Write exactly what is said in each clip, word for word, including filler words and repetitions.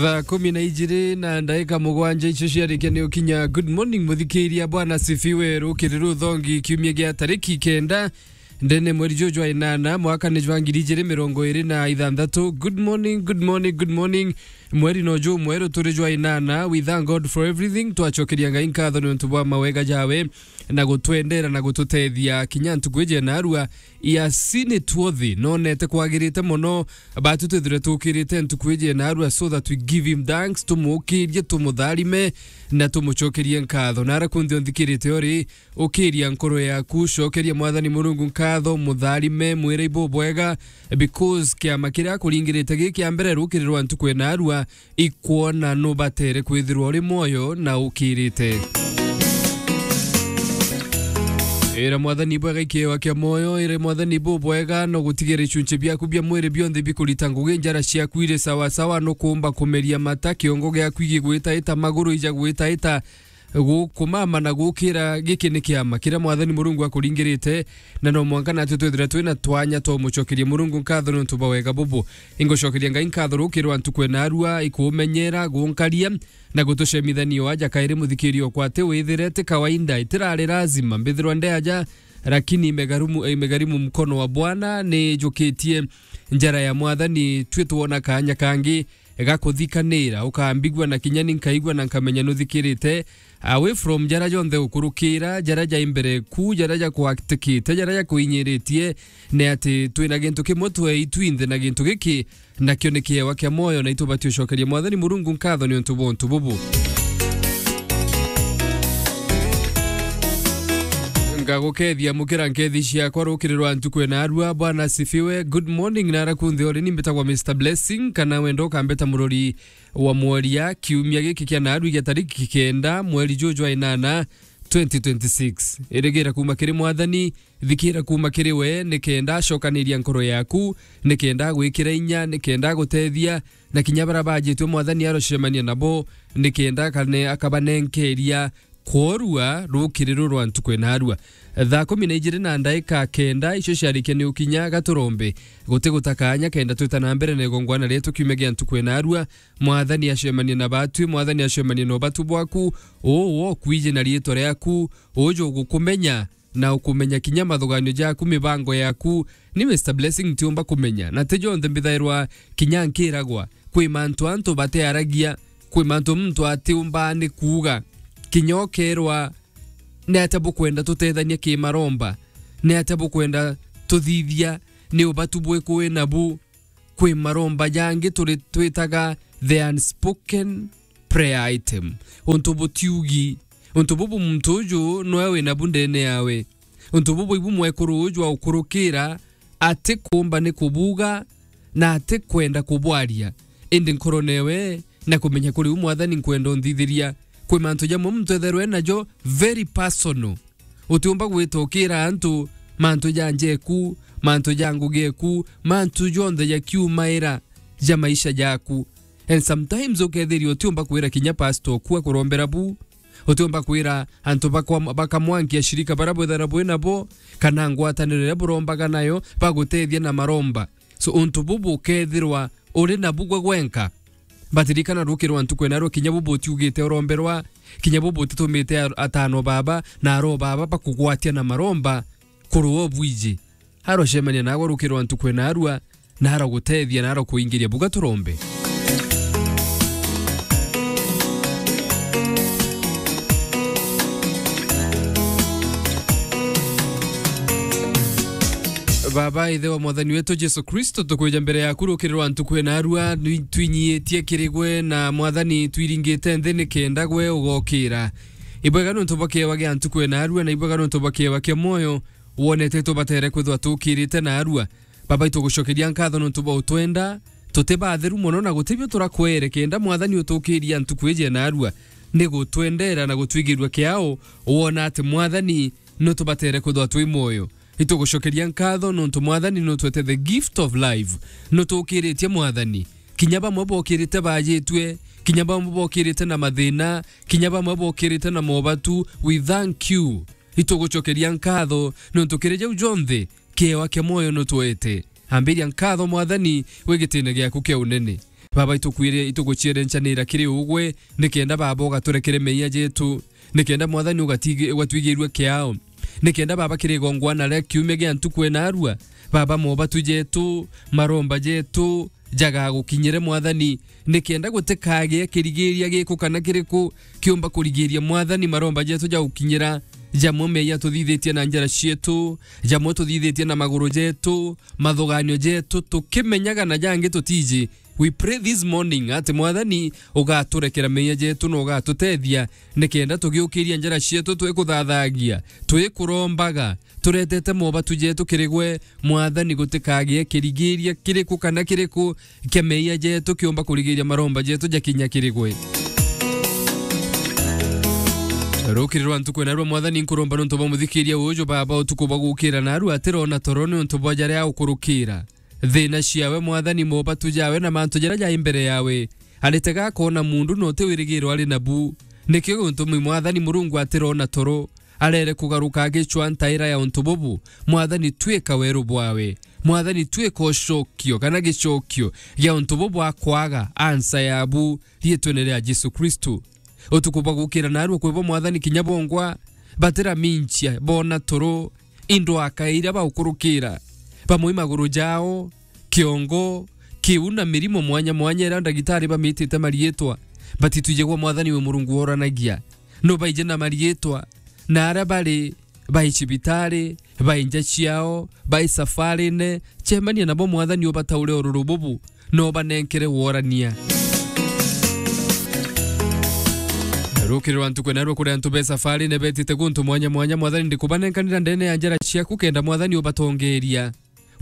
Thaa kumi na ijiri na ndaika mugwanja icio ciarikia ni ukinya. Good morning, muthikiria. Bwana sifiwe. Rukiri ruthongi, kiumia gia tariki kenda, ndene mweri juju jwa inana, mwaka ni jwa ngiri ijiri mirongo iri na ithanthatu. Good morning, good morning, good morning. Mweri no ju mweru turi jwa inana. We thank God for everything. Twacokeria Ngai nkatho ni untu bwa mawega jawe na gutwendera na gututethia kinya ntuku iji ya narua. Ia sini tuothi nonete kwagirite mono, batu twithire tukirite ntuku iji ya narua, so that we give him thanks, tumukirie, tumutharime na tumucokerie nkatho. Nara kunthi unthikirite uri, ukiria nkoro yaku, cokeria Mwathani Murungu nkatho, mutharime, mwire ibubwega, because kiama kiria akuringirite gi kia mbere rukiri rwa ntuku ya narua, ikwona nubatere kwithirwa uri mwoyo na ukirite. Ira Mwathani bwega ikiewa kia mwoyo, ira Mwathani bubwega, no gutigere icunci biaku bia mwiri bionthe bikurita ngugi, njara ciaku iri sawa sawa, nukumba kumeria mata, kiongo giaku igigwitaita, maguru ija gwitaita, gukumama na gukira. Giki ni kiama kiria Mwathani Murungu akuringirite, na no mwanka natwe twithira twina twanya twa umucokeria Murungu nkatho niuntu bwa wega bubu. Ingucokeria Ngai nkatho rukiri rwa ntuku ya narua, ikumenyera, gunkaria, na gutucemithania o aja kairi. Muthikiria okwa, ati withire ti kawaida, itirari lazima mbithirwa ndi aja, lakini imegharimu, imegharimu mkono wa Bwana. Nijukitie njara ya Mwathani, twi twona kanya kangi ga kuthikanira, ukambigua na kinya ni nkaigua na nkamenya nuthikirite. Away from jara jonthe ukurukira, jara ja imbere ku, jara ja kuatikite, jara ja kuinyiritie, ni ati twina gintu kimwe twei twinthe, na gintu giki nakio ni kiewa kia mwoyo, na itubati ucokeria Mwathani Murungu nkatho niuntu bwa untu bubu. Ngagukethia mukira nkethi ciakwa rukiri rwa ntuku ya narua. Bwana asifiwe. Good morning, nara kunthi uri, ni mbitagwa Mister Blessing, kana wenda ukambeta murori wa mworia. Kiumia giki kia narua gia tariki kenda, mweri juju jwa inana, twenty twenty-six. Irigira kuma kiri Mwathani, thikira kuma kiri we, nikenda acokaniria nkoro yaku, nikenda agwikira inya, nikenda agutethia, na kinya baria bajitwe Mwathani arocemania nabo, nikenda akane-, akabanenkeria kworua rukiri ruru rwa ntuku ya narua. Thaa kumi na ijiri na ndaika kenda, icio ciarikia ni ukinya gaturombe. Guti guta kanya kenda twita na mbere na igongwana rietu kiumia gia ntuku ya narua. Mwathani acemanie na batwi, Mwathani acemanie na ubatu bwaku, uu wokwiji na riitwa riaku, uju ugukumenya, na ukumenya kinya mathuganio jaku, mibango yaku. Ni Mister Blessing ntiumba kumenya, na ti jonthe mbithairwa kinya nkiragwa. Kwi mantu antu batearagia, kwi mantu muntu atiumbaa ni kuuga. Kinya ukerwa, ni atia bukwenda tutethania kimaromba? Ni atia bukwenda tuthithia? Ni ubatu bwiku wi nabu? Kwi maromba jangi turi twitaga the unspoken prayer item. Untu butiugi. Untu bubu muntu uju noe wina bu ndene yawe. Untu bubu ibu mwekuru uju aukurukira atikumba ni kubuga na atikwenda kubwaria. Indi nkorone we na kumenya kuri u Mwathani nkwenda unthithiria. Kwi mantu jamwe muntu etherwe najo very personal. Utiumba gwita ukira antu mantu ja njeku, mantu ja ngugi eku, mantu jonthe jakiumaira ja maisha jaku. And sometimes ukethiria utiumba kwira kinya pastor oku akurombera bu, utiumba kwira antu bakwa-, bakamwankia shirika baria bwithagirwa bwi nabo, kana ngwataniro iria burombaga nayo, bagutethia na maromba. So, untu bubu ukethirwa uri nabu gwe gwenka. Batirikana rukiri rwa ntuku ena rwo, kinya bubu utiugite uromberwa, kinya bubu utitumite a-, atano baba na aro baba bakugwatia na maromba kurua obwiji. Arocemania naagwe rukiri rwa ntuku ena arua, na aragutethia, na arakuingiria. Buga turombe. Baba, Ithe wa Mwathani wetu Jesu Kristo, tukwija mbere yaku rukiri rwa ntuku ena arua, nwi-, twinyiitie kiri gwe, na Mwathani, twiringite nthi nikenda gwe ugokira. Ibwega nuntu bwa kiewa gia ntuku ena arua, na ibwega nuntu bwa kiewa kia mwoyo wonete tubatere kwithwa tukirite na arua. Baba, itugucokeria nkatho nuntu bwa utwenda, tuti batheru mono na guti bio turakwere, kenda Mwathani utukiria ntuku iji na arua, ni gutwendera na gutwigirua kiao, wona ati Mwathani nutubatere kwithwa twi mwoyo. Itugucokeria nkatho nuntu Mwathani nutwete the gift of life. Nutukiritie Mwathani. Kinya bamwe bokirite bajitue, kinya bamwe bokirite na mathina, kinya bamwe bokirite na mobatu, we thank you. Itugucokeria nkatho nuntu kiri jau jonthe kiewa kia mwoyo nutwete. Ambiria nkatho Mwathani wi gitine giaku kia unene. Baba, itukwire-, itugucierencanira kiri ugwe, nikenda, Baba, ugaturekere meeyia jetu, nikenda, Mwathani, ugatigi-, ugatwigirua kiao, nikenda, Baba, kiri igongwana ria kiumia gia ntuku ena arua, Baba, mobatu jetu, maromba jetu, jagagukinyire, Mwathani, nikenda gutikagie kirigiria giku kana kiriku kiumba kurigiria, Mwathani, maromba jetu jagukinyira, jamwe meeyia tuthithitie na njara cietu, jamwe tuthithitie na maguru jetu, mathuganio jetu, tukimenyaga na jangi tutiji. We pray this morning ati, Mwathani, ugaturekera meeyia jetu na ugatutethia, nikenda tugiukiria njara cietu twikuthathagia, twikurombaga, turetete mobatu jetu kiri gwe, Mwathani, gutikagie kirigiria kiriku kana kiriku kia meeyia jetu kiumba kurigiria maromba jetu jakinya kiri gwe. Rukiri rwa ntuku ena rwa, Mwathani, nkuromba niuntu bwa muthikiria uju, Baba, utuku bwa gukira naru atirona toro niuntu bwa jaria ukurukira. Thiina ciawe, Mwathani, mobatu jawe na mantu jaria jai mbere yawe, aritega akoona mundu na uti wirigiro ari nabu. Nikio giutumi, Mwathani, Murungu atirona toro, arere kugaruka agicwa ntaira ya untu bubu. Mwathani, twika weru bwawe. Mwathani, twika ucokio kana gicokio gia untu bubu akwaga, ansa yabu, riitwene ria Jesu Kristu. Utuku bwa gukira naarua kwi bo, Mwathani, kinya bongwa batiraminchia, boona toro, indwaka iria baukurukira, bamwe maguru jao, kiongo, kiu na mirimo mwanya mwanya iria ndagitari bamitite mariitwa, batitwijagwa, Mwathani, wi Murungu woranagia. Nubaije na mariitwa, na aria bari, bai cibitari, bai nja ciao, bai safarine, cemania nabo, Mwathani, ubataure ururu bubu, na ubanenkere worania. Rukiri rwa ntuku ena rwa kuri antu be safarine betite guntu mwanya mwanya, Mwathani, ndikubanenkanira ndene ya njara ciaku, kenda, Mwathani, ubatongeria.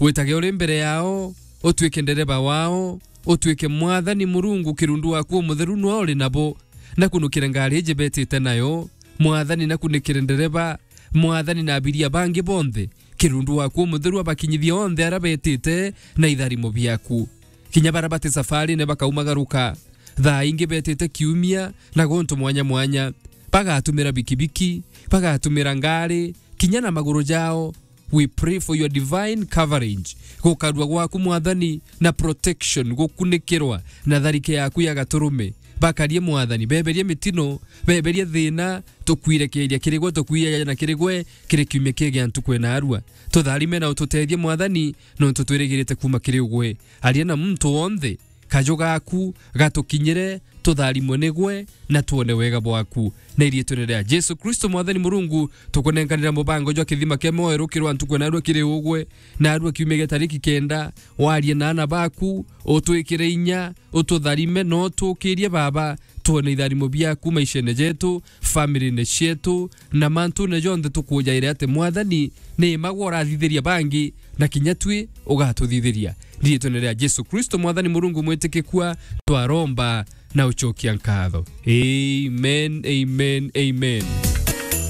Witage uri mbere yao, utuike ndereba wao, utuike, Mwathani Murungu, kirundu waku umutheru nwe uri nabo. Nakunukire ngari iji betite nayo, Mwathani, nakunikire ndereba, Mwathani, na abiria bangi bonthe, kirundu waku umutheru abakinyithie onthe aria betite na itharimo biaku. Kinya baria bati safarine bakaumagaruka, thaa ingi betite kiumia na guntu mwanya mwanya, bagatumira bikibiki, bagatumira ngari, kinya na maguru jao, We pray for your divine coverage. Gukarua gwaku, Mwathani, na protection, gukunikirwa na tharike yaku ya gaturume. Bakarie, Mwathani, beberie mitino, beberie thina, tukwirekeria kiri gwe, tukwijaja na kiri gwe, kiri kiumia kii gia ntuku ena arua. Tutharime na ututethie, Mwathani, nontu twirigirite kuuma kiri ugwe. Aria na muntu wonthe, kaju gaku gatukinyire, tutharimwe nigwe, na twone wega bwaku. Na iriitwene ria Jesu Kristo, Mwathani Murungu, tukunenkanira mubango jwa kithima kia mwoyo rukirwa ntuku na arua kiri ugwe, na arua kiumia gia tariki kenda, warie na aana baku, utwikire inya, ututharime, na utukirie, Baba, twone itharimo biaku maishene jetu, family-ne cietu, na mantune jonthe tukujaire ati, Mwathani, ni imagwa urathithiria bangi, na kinya twi ugatuthithiria. Riitwene ria Jesu Kristo, Mwathani Murungu mwitikikua, twaromba na ucokia nkatho. Amen, amen, amen.